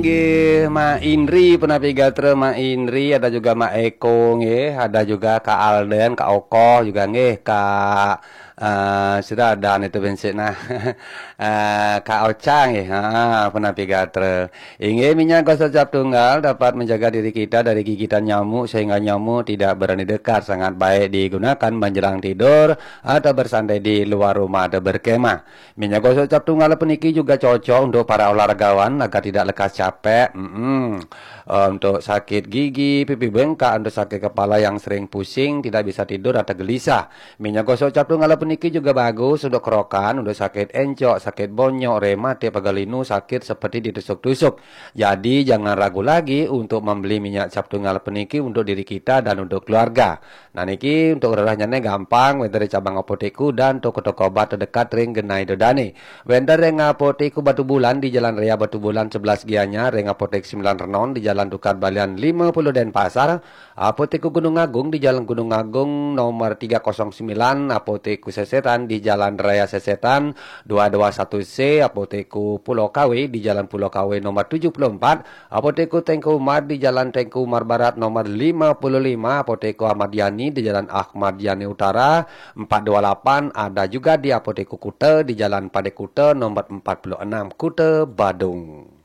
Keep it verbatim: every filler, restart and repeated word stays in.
Nggih, Mak Indri, punapi gatra Mak Indri, ada juga Mak Eko nggih, ada juga Kak Alden, Kak Okoh juga nggih, Kak, eh, sudah ada itu bensik nah. Eh, Kak Ocha nggih, ha, punapi gatra. Inggih, minyak gosok cap tunggal dapat menjaga diri kita dari gigitan nyamuk sehingga nyamuk tidak berani dekat. Sangat baik digunakan menjelang tidur atau bersantai di luar rumah atau berkemah. Minyak gosok cap tunggal puniki juga cocok untuk para olahragawan agar tidak lekas capek. Mm-mm. Eh, untuk sakit gigi, pipi bengkak, untuk sakit kepala yang sering pusing, tidak bisa tidur atau gelisah. Minyak gosok cap tunggal puniki juga bagus untuk kerokan, untuk sakit encok, sakit bonyok, rematik, pegal linu, sakit seperti ditusuk-tusuk. Jadi jangan ragu lagi untuk membeli minyak cap tunggal puniki untuk diri kita dan untuk keluarga. Nah niki untuk rerahnya gampang, wénten ring cabang apotek dan toko-toko obat terdekat ring genah ida dané. Wénten ring Apotek Batubulan di Jalan Raya Batubulan sebelas Gianyar, ring Apotek Sembilan Renon di Jalan Tukad Balian lima puluh Denpasar, Apotek Gunung Agung di Jalan Gunung Agung nomor tiga kosong sembilan, Apotek Sesetan di Jalan Raya Sesetan dua dua satu C, Apotek Pulau Kawe di Jalan Pulau Kawe nomor tujuh puluh empat, Apotek Teuku Umar di Jalan Teuku Umar Barat nomor lima puluh lima, Apotek Ahmad Yani di Jalan Ahmad Yani Utara empat dua lapan, ada juga di Apotek Kuta di Jalan Padek Kuta nomor empat puluh enam, Kuta Badung.